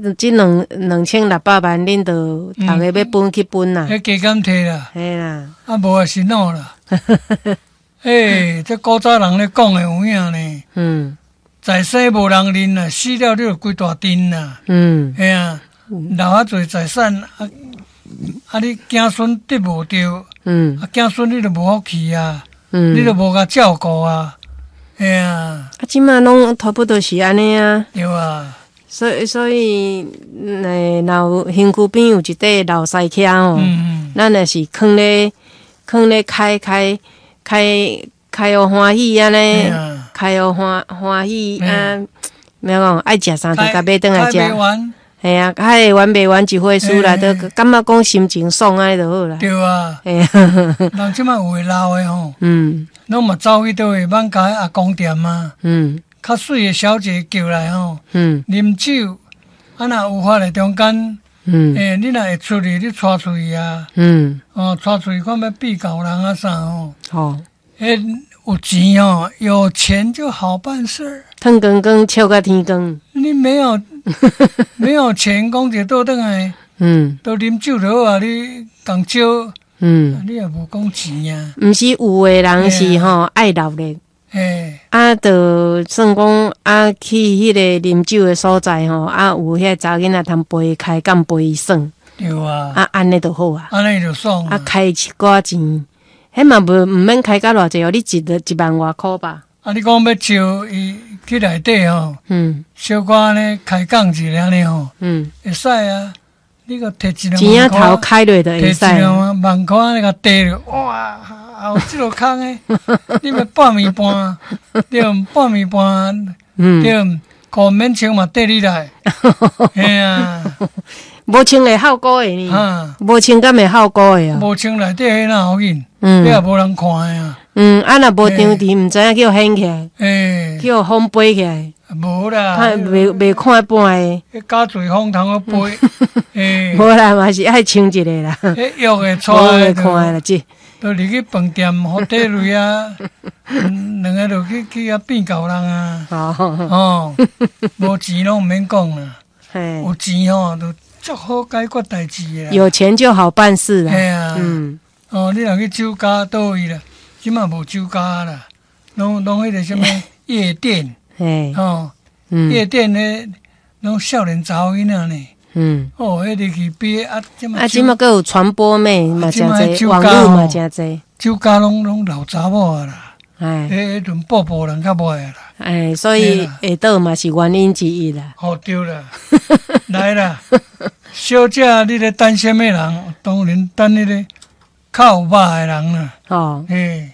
這2600萬，恁就逐个欲分去分啦。彼加減提啦。嘿啦。啊，無也是孬啦。欸，這古早人咧講的有影呢。在生無人認啦，死了你就規大陣啦。嘿啊，留遐濟財產，啊啊！你子孫得無著，啊，子孫你就無福氣啊，你就無共照顧啊，嘿啊。啊，這馬攏差不多是按呢啊。對啊。所以，若有身軀邊有一塊老師徛吼，咱若是囥咧開開開開予歡喜按呢，開予歡喜啊！欲講愛食啥就共買轉來食。嘿啊，開會完袂完一回事啦，都感覺講心情爽按呢就好啦。對啊。嘿啊。人這馬有的老的吼，攏嘛走去佗位艋舺阿公店啊，較媠的小姐叫來吼，啉酒，啊若有法的中間，欸，你若會出去，你帶出去啊，哦，帶出去看欲變猴人啊啥吼，彼有錢哦，有錢就好辦事。褪光光笑到天光。你沒有錢，講一倒轉來，都啉酒就好啊，你共招，你也無講錢啊。毋是有的人是吼愛鬧熱，啊，就算講啊去彼个啉酒的所在吼，啊有彼查某囡仔通陪伊開講陪伊耍。對啊。啊，按呢就好啊。按呢就爽。啊，開一寡錢，彼嘛無毋免開甲偌濟哦，你1萬外箍吧。啊，你講欲招伊去內底吼，小可按呢開講一下按呢吼，會使啊。你閣提一兩萬箍，錢仔頭開落就會使。提一兩萬箍按呢共遞落，哇，有這落空的，你欲半暝半，對，半暝半，對，褲免穿嘛綴你來，嘿啊。無穿會效果的呢？無穿敢會效果的啊？無穿內底彼若要緊，彼也無人看的啊。啊若無張持，毋知影叫掀起來，叫風飛起來。無啦，袂看半个。彼加濟風通好飛。無啦，嘛是愛穿一个啦。彼約會帶會看啦，這。都入去飯店，好綴落啊，兩个就去遐變猴人啊。哦，無錢攏毋免講啦。有錢吼，就足好解決代誌啦。有錢就好辦事啦。嘿啊。哦，你若去酒家佗位啦，這馬無酒家啦，攏彼个啥物夜店。哦，夜店咧，攏少年查某囡仔呢。哦，彼入去比啊，這馬啊，這馬閣有傳播妹嘛，誠濟，網路嘛誠濟。酒家攏老查某啊啦。彼陣埔埔人較無愛啦。哎，所以會倒嘛是原因之一啦。哦，對啦，來啦，小姐，你咧等啥物人？當然等彼个較有肉的人啦。哦。嘿。